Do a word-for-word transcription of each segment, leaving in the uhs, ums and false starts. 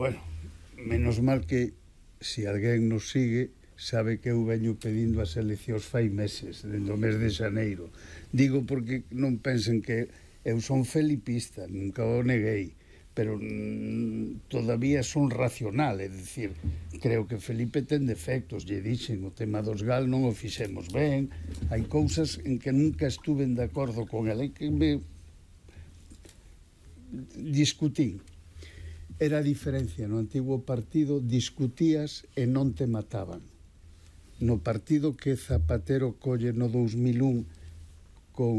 Bueno, menos mal que se alguén nos sigue sabe que eu veño pedindo as eleccións fai meses, dentro do mes de xaneiro. Digo porque non pensen que eu son felipista, nunca o neguei, pero mm, todavía son racional, é dicir, creo que Felipe ten defectos, lle dixen, o tema dos gal non o fixemos ben, hai cousas en que nunca estuve de acordo con ele, que me discutín. Era a diferencia, no antigo partido discutías e non te mataban. No partido que Zapatero colle no dous mil un con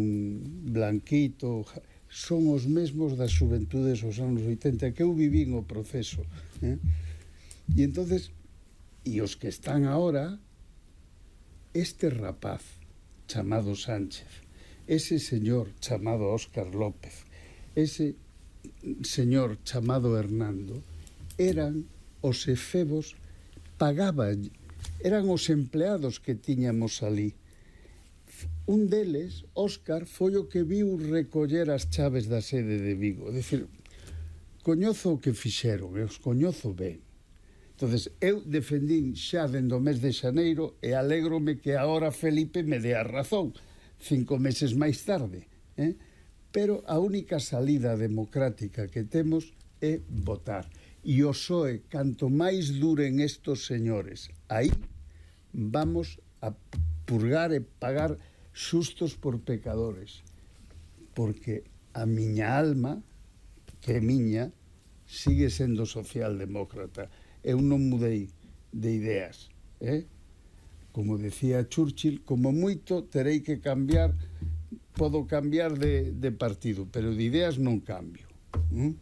Blanquito son os mesmos das xuventudes dos anos oitenta, que eu vivín o proceso, eh? E entonces, e os que están ahora, este rapaz chamado Sánchez, ese señor chamado Óscar López, ese señor chamado Hernando, eran os efebos, pagaban, eran os empleados que tiñamos ali. Un deles, Óscar, foi o que viu recoller as chaves da sede de Vigo. É dicir, coñozo o que fixeron, e os coñozo ben. Entonces, eu defendín xa dende o mes de xaneiro e alégrome que agora Felipe me dé a razón, cinco meses máis tarde. Eh? Pero a única salida democrática que temos é votar. E o P S O E, canto máis duren estos señores, aí vamos a purgar e pagar xustos por pecadores, porque a miña alma, que é miña, sigue sendo socialdemócrata. Eu non mudei de ideas, eh? Como decía Churchill, como moito terei que cambiar, podo cambiar de, de partido, pero de ideas non cambio. ¿Mm?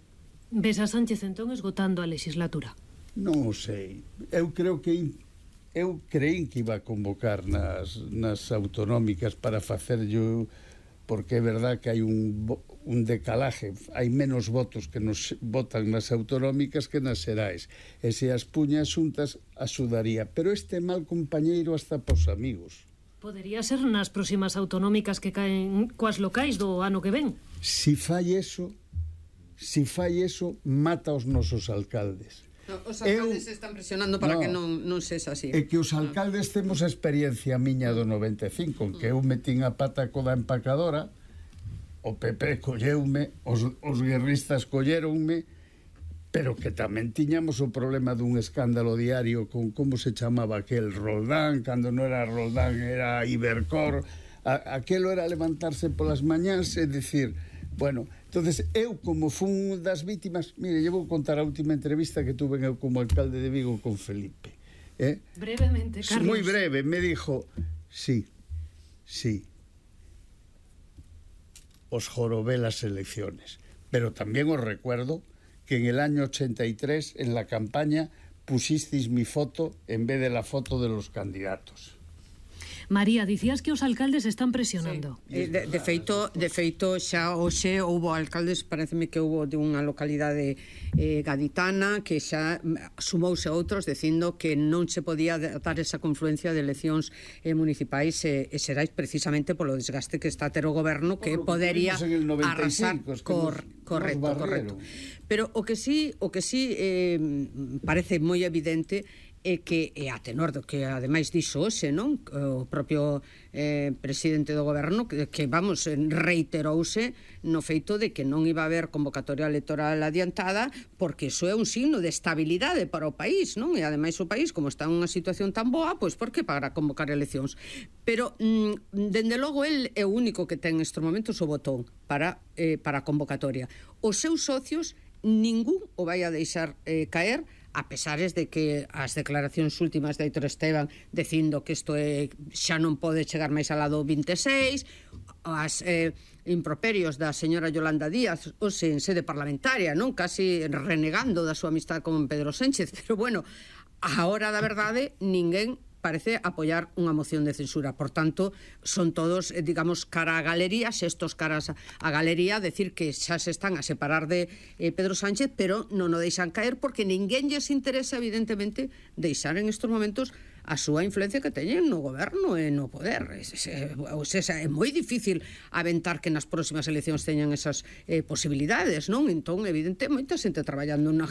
Ves a Sánchez entón esgotando a legislatura? Non o sei. Eu creo que eu creín que iba a convocar nas, nas autonómicas para facer yo, porque é verdad que hai un, un decalaje, hai menos votos que nos votan nas autonómicas que nas xerais, e se as puña xuntas axudaría, pero este mal compañeiro hasta pos amigos. Podería ser nas próximas autonómicas que caen coas locais do ano que ven. Si fai eso, si fai eso, mata os nosos alcaldes. No, os alcaldes eu, están presionando para no, que non, non sexa así. É que os alcaldes temos a experiencia miña do noventa e cinco, en que eu metín a pata co da empacadora, o P P colleume, os, os guerristas colleronme, pero que tamén tiñamos o problema dun escándalo diario con como se chamaba aquel Roldán, cando non era Roldán era Ibercor, a, aquelo era levantarse polas mañáns e dicir, bueno, entonces eu como fun das vítimas, mire, lle vou contar a última entrevista que tuve eu como alcalde de Vigo con Felipe, eh? Brevemente, Carlos. Moi breve, me dijo, sí, sí, os jorobé las elecciones, pero también os recuerdo que en el año ochenta y tres, en la campaña, pusisteis mi foto en vez de la foto de los candidatos. María, dicías que os alcaldes están presionando. Sí. De, de feito, de feito xa hoxe houbo alcaldes, pareceme que houbo de unha localidade eh, gaditana que xa sumouse a outros dicindo que non se podía dar esa confluencia de eleccións eh, municipais e, e xerais precisamente polo desgaste que está a ter o goberno, que podería arrasar. Cor, correcto, correcto. Pero o que sí, o que sí eh, parece moi evidente é que é a tenor do que ademais dixo hoxe, non? O propio eh, presidente do goberno que, que vamos, reiterouse no feito de que non iba a haber convocatoria electoral adiantada porque iso é un signo de estabilidade para o país, non? E ademais o país, como está en unha situación tan boa, pois por que para convocar eleccións? Pero, mm, dende logo, el é o único que ten nestes momentos o botón para, eh, para a convocatoria. Os seus socios, ningún o vai a deixar eh, caer, a pesares de que as declaracións últimas de Aitor Esteban dicindo que isto é, xa non pode chegar máis al lado vinte e seis, as eh, improperios da señora Yolanda Díaz hoxe en sede parlamentaria, non, casi renegando da súa amistad con Pedro Sánchez, pero bueno, a hora da verdade ninguén parece apoiar unha moción de censura. Por tanto, son todos, digamos, cara a galería, xestos caras a galería, decir que xa se están a separar de eh, Pedro Sánchez, pero non o deixan caer porque ninguén lles interesa, evidentemente, deixar en estos momentos a súa influencia que teñen no goberno e no poder. É, é, é, é moi difícil aventar que nas próximas eleccións teñan esas eh, posibilidades, non? Entón, evidente, moita xente traballando na